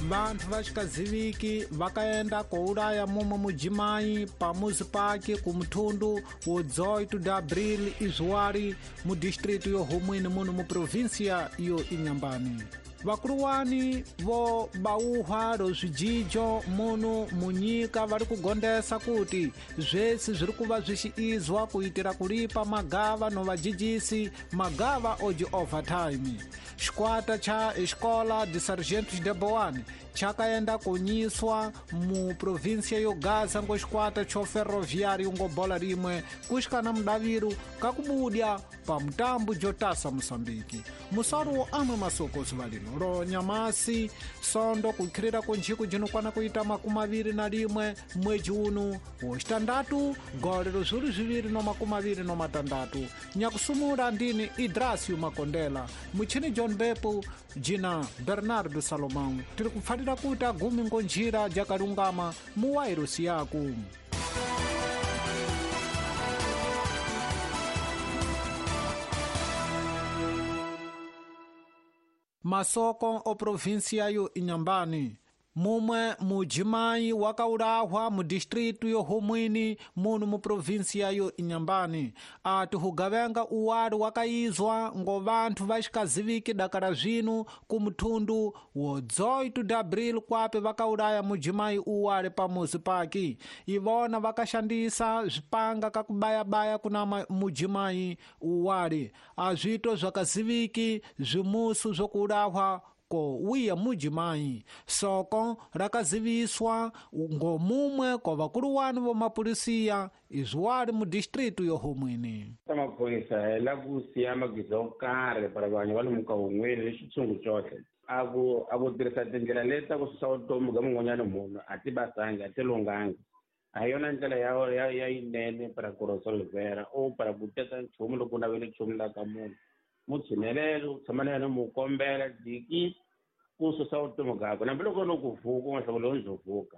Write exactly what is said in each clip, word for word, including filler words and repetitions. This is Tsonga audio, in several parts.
Vantu vaxikaziviki vakaenda koulaya mumwe mujimai pamuzi pake kumuthundu wo dezoito de abril izwari mu distrito yo Humwini muno mu província yo Inhambane. Vakuluwani vo bauha ro zvijijo muno munyika vari kugondesa kuti zvese zviri kuva zvichiizwa kuitira kulipa magava no vajijisi magava oji overtime. Xikwata cha Escola de Sargentos de Boane chakaenda kunyiswa mu província yo Gaza ngo xikwata cho ferroviário ngo bola rimwe kuxikana mudaviru kakubudya pa mutambo jotasa Moçambique. Musoro wo amwe masoko zuva lino ro nyamasi sondo kukhirira kunjiku jinokwana kuita makumi maviri na rimwe mwedzi uno wo xitandatu gole ro zviuri zviviri no makumi maviri no matandatu. Nyakusumula ndini Idrasio Makondela, muchini John Bepu, jina Bernardo Salomão. Tiri kupfalira kuita gumi ngonjira jakalungama muwairusi yaku. Masoko o província yo Inhambane. Mumwe mujimai wakaulahwa mu distrito yo Humwini muno mu província yo Inhambane. Ati hugavenga uwali wakaizwa ngo vanthu vaxikaziviki dakala zvinu ku muthundu wo dezoito de abril kwape vakaulaya mujimai uwali pamuzi pake. Ivona vakashandisa zvipanga kakubayabaya kuna mujimai uwali. Azvito zvakaziviki zvimusu zvokuulahwa ko wiya mujimai. Soko rakaziviswa ngo mumwe ko vakuluwani vo mapolisiya izwali mu distrito yo Humwini. Maphorisa hi la ku siya magiza yo karhi para vanhu va lomu ka Humwini ni xitshungu xoxe. A ku a ku tirhisa tindlela leti ta ku susa vutomi bya mun'wanyana munhu a ti basangi a ti lunghangi. A hi yona ndlela ya ya ya yinene para ku resolvera o para ku teka nchumu loko u navele nchumu la ka munhu. Mu tshinelele u tshama na yena mu kombela diki ku susa vutomi byakwe hambiloko no ku vuka u nga hlawuli lowu ndzo vuka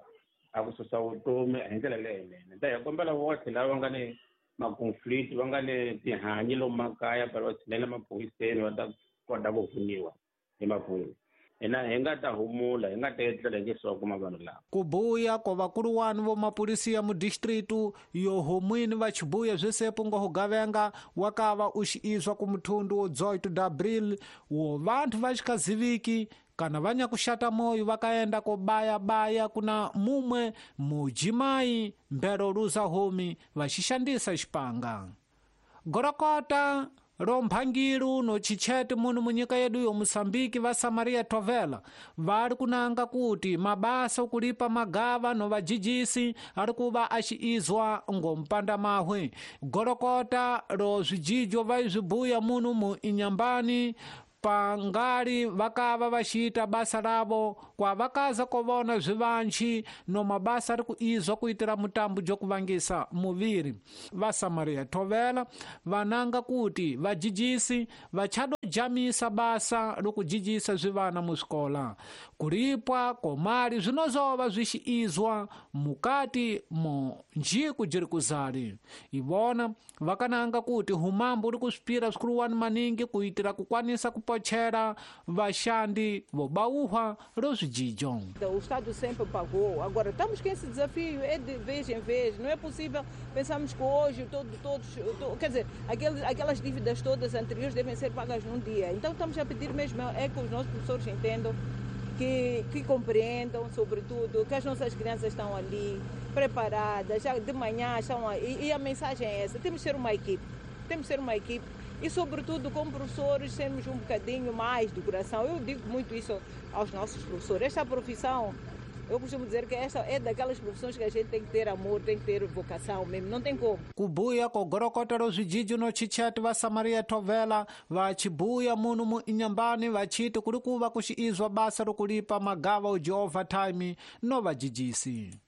a ku susa vutomi hi ndlela leyinene. Ta hi kombela votlhe lava nga ni ma-conflict va nga ni tihanyi lomu makaya va va tshinela maphoriseni va ta kota ku pfuniwa hi maphorisa. Hina hi nga ta humula hi nga ta etlela hi nge se wa kuma vanhu lava. Kubuya ko vakuluwani vo mapolisiya mu distrito yo Humwini va xibuya zvisepo ngo hugavenga wakava u xiizwa ku muthundu wo dezoito de abril wo vanthu va xikaziviki kana va nyakuxata moyo vakaenda kobayabaya kuna mumwe mujimai mbero luza homi va xixandisa xipanga. Gorokota ro mphangilu no chichete muno munyika yedu yo Moçambique va Samaria Tovela vari kunanga kuti mabasa okulipa magava no vajijisi ari kuva axiizwa ngo mpanda mahwe. Gorokota ro zvijijo vaizvibuya muno mu Inhambane pangali vakava vaxiita basa lavo kwa vakaza kovona zvivanchi no mabasa ari kuizwa kuitira mutambo jokuvangisa muviri. Va Samaria Tovela vananga kuti vajijisi vachadojamisa basa lokujijisa zvivana musikola. Kulipwa komali zvinozova zvixiizwa mukati mo njiku jiri kuzali. Ivona vakananga kuti humambo uri kusvipira zvikuluwani maningi kuitira kukwanisa kupochera vashandi vobauhwa ro zvijijo. O Estado sempre pagou. Agora estamos com esse desafio, é de vez em vez. Não é possível pensarmos que hoje todo, todos, todo, quer dizer, aqueles, aquelas dívidas todas anteriores devem ser pagas num dia. Então estamos a pedir mesmo é que os nossos professores entendam, que, que compreendam, sobretudo, que as nossas crianças estão ali preparadas, já de manhã estão aí. E, e a mensagem é essa, temos que ser uma equipe, temos que ser uma equipe. E, sobretudo, como professores, sermos um bocadinho mais do coração. Eu digo muito isso aos nossos professores. Esta profissão, eu costumo dizer que esta é daquelas profissões que a gente tem que ter amor, tem que ter vocação mesmo, não tem como. Kubuya ko gorokota ro zvijijo no chichete va Samaria Tovela vachibuya muno mu Inhambane vachiti kuri kuva kuxiizwa basa rokulipa magava uji overtime no vajijisi.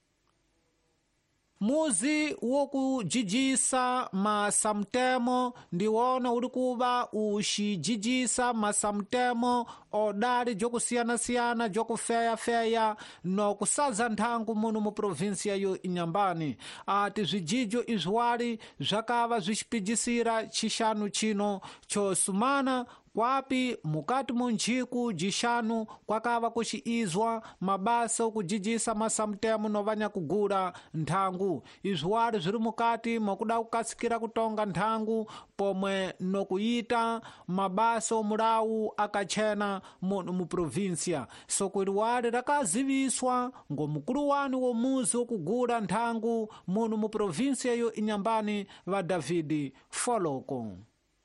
Muzi wokujijisa masamtemo ndiwona uli kuva uxijijisa masamtemo odali jokusiyana-siyana jokufeya-feya nokusaza nthangu muno mu provinsia yo Inhambane. Ati zvijijo izwali zvakava zvixipijisira chixanu chino chosumana kwapi mukati mu njiku jixanu kwakava kuxiizwa mabasa okujijisa masamtemo novanyakugula nthangu. Izwali zviri mukati mokuda kukasikira kutonga nthangu pomwe nokuyita mabasa omulawu akachena muno mu provinsia. Soko iliwali lakaziviswa ngomukulu wanu womuzi wokugula nthangu muno mu provinsia yo Inhambane va David Foloko.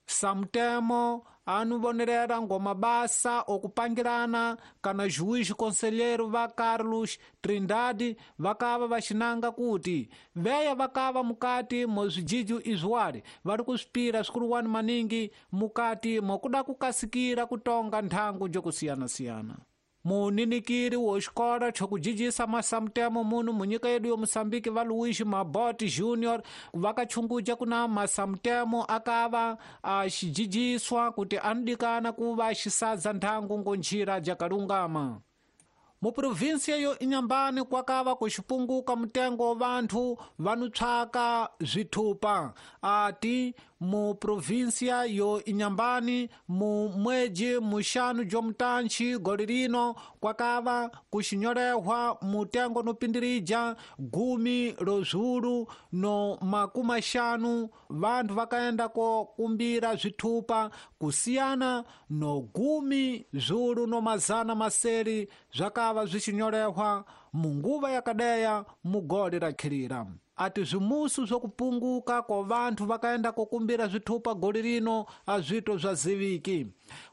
Samtemo anuvonerera ngomabasa okupangirana kana juiz conselheiro va Carlos Trindade vakava vaxinanga kuti veya vakava mukati mozvijijo izwali vari kusvipira swikuluwani maningi mukati mokuda kukasikira kutonga nthangu jokusiyana-siyana. Muninikiri wo xikola chokujijisa masamtemo muno munyika yedu yo Moçambique va Luís Mabot Júnior vakachunguja kuna masamtemo akava axijijiswa kuti anodikana kuva axisadza nthangu ngonjira jakalungama. Mu provinsia yo Inhambane kwakava kuxipunguka mutengo wa vanthu vanotshwaka zvithupa. Ati mu provinsia yo Inhambane mu mweji muxanu jomutantxi goli lino kwakava kuxinyorehwa mutengo nopindirija gumi lozulu no makumi axanu vanthu vakaenda kokumbira zvithupa kusiyana no gumi zulu no mazana maseli zvakava zvixinyorehwa munguva yakadeya mugoli rakhirira. Ati zvimusu zvokupunguka kwa vanthu vakaenda kokumbira zvithupa goli lino azvito zvaziviki.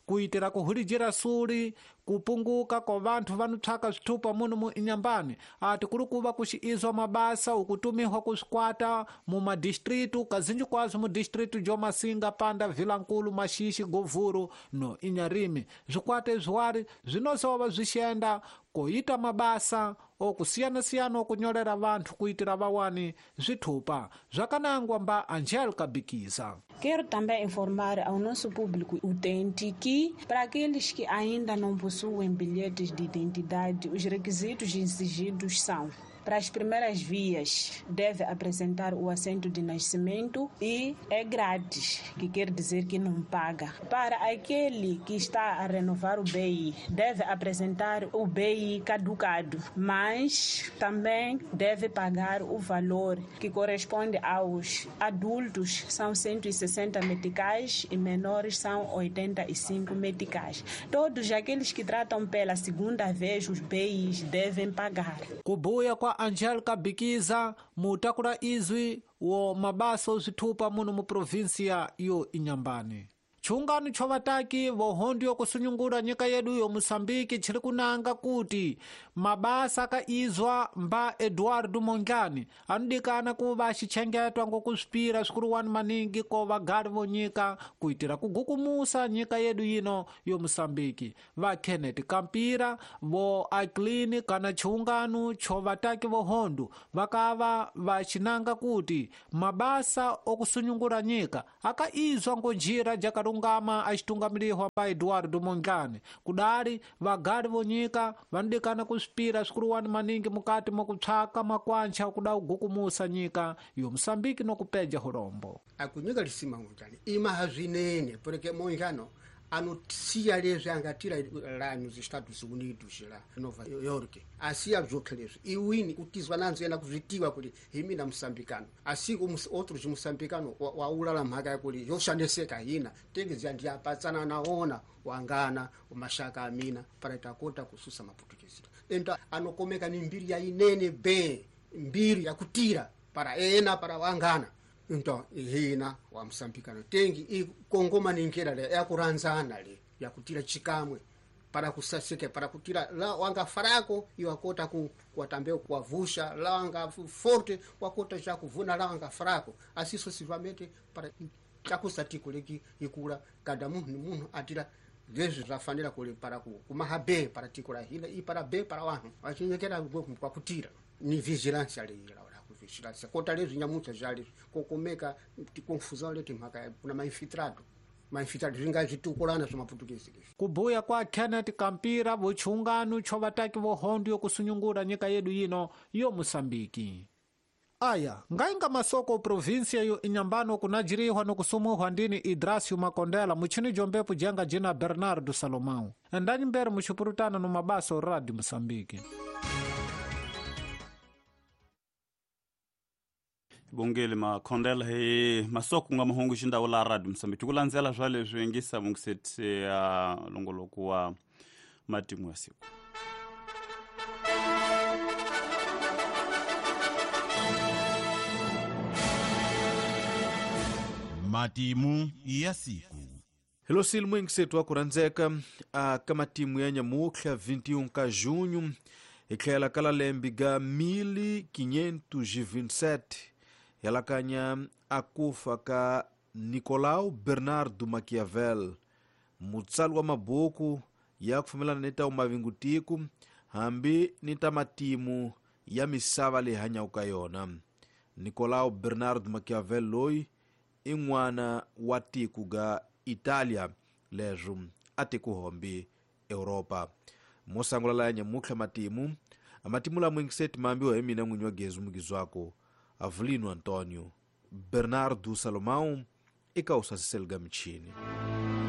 Kuitira kuhulijira suli kupunguka kwa vanthu vanotshwaka zvithupa muno mu Inhambane ati kuri kuva kuxiizwa mabasa okutumihwa kuswikwata mu madistritu kazinji kwazo mu distritu jo Masinga, Panda, Vilankulu, Maxixi, Govuro no Inharime. Zwikwata izwali zvinozova zwixienda koita mabasa okusiyana-siyana okunyorera vanthu kuitira vawani zvithupa. Zvakanangwa mba Angélica Bikiza. Quero também informar ao nosso público utente que, para aqueles que ainda não possuem bilhetes de identidade, os requisitos exigidos são: para as primeiras vias, deve apresentar o assento de nascimento e é grátis, que quer dizer que não paga. Para aquele que está a renovar o B I, deve apresentar o B I caducado, mas também deve pagar o valor que corresponde aos adultos, são cento e sessenta meticais, e menores são oitenta e cinco meticais. Todos aqueles que tratam pela segunda vez os B Is devem pagar. Kubuya kwa Angélica Bikiza mutakula izwi wo mabasa ozvithupa muno mu provinsia yo Inhambane. Chungano chovataki vohondi yokusunyungura nyika yedu yo Moçambique chiri kunanga kuti mabasa akaizwa mba Eduardo Mondlane anodikana kuva axichengetwa ngokusvipira swikuluwani maningi ko vagari vonyika kuitira kugukumusa nyika yedu yino yo Moçambique. Va Kenneth Kampira vo Aclini kana chiungano chovataki vohondo vakava vachinanga kuti mabasa okusunyungura nyika akaizwa ngonjira jakalunga ngama axitungamirihwa pa Eduardo Mondlane. Kudali vagari vonyika vanodikana kusvipira swikuluwani maningi mukati mokutshwaka makwantcha kuda kugukumusa nyika yo Moçambique nokupeja hulombo. Akunyika lisima Mondlane imaha zwinene porque Mondlane anotsiya leswi angatira la nos Estados Unidos la Nova York asiya zvokhe leswi iwini kutizwa nanzo yena kuzvitiwa kuti himi na moçambicano asi outros moçambicano waulala mhaka yakuti yoshandeseka hina tengezi ndiapatsana naona wangana mashaka amina para takota kususa maputukezi enta anokomeka ni mbiri ya inene be mbiri yakutira para ena para wangana. Então hina wa moçambicano tengi ikongoma ninkera le yakuranzana le yakutira chikamwe para kusaseke para kutira la wanga farako iwakota ku kuatambeo kuavusha la wanga forte wakota cha kuvuna la wanga farako asi sucessivamente para chakusati leki ikula kada munhu munhu atira leswi zvafanira kule para ku kumaha be para tikula hina i para be para wanhu vachinyekera kwa kutira ni vigilance le ila. xilatisa kota leswi nyamuntlha bya leswi ko kumeka tikonfusão leti mhaka kuna mainfiltrado mainfiltrado swi nga switukulana swa maputukezi leswi. Kubuya kwa Kenneth Kampira vochungano cho vataki vohondo yokusunyungura nyika yedu yino yo Mosambiki. Aya, ngainga masoko provinsia yo inyambano kunajirihwa nokusumuhwa ndini Idrasio Makondela muchini jombepo jenga jina Bernardo Salomão. Endani mbere muchipurutana no mabaso Radio Mosambiki. Bongele Makondela he masoko nga mahungu xindawo la Radio Mosambiki kulandzela swa leswi ngisa mungiseti ya longoloko wa matimu ya siku. Matimu ya siku. Hello silmu ingisetu akurandzeka a ka matimu ya nyamutlha vinte e um ka junho hi tlhela ka lembe ga mil quinhentos e vinte e sete helakanya a kufa ka Nicolau Bernardo Maquiavel, mutsali wa mabuku ya kufumelana ni ta umavingutiku hambi ni ta matimu ya misava leyi hanyaka ka yona. Nicolau Bernardo Maquiavel loyi i n'wana wa tiko ga Italia leswo a tiko hombi Europa. Mosangula la nyamutlha matimu amatimu la mwingiseti mambiwa hi mina n'winyi wa gezu mugizwako Avelino Antonio Bernardo Salomão eka usasiseliga michini.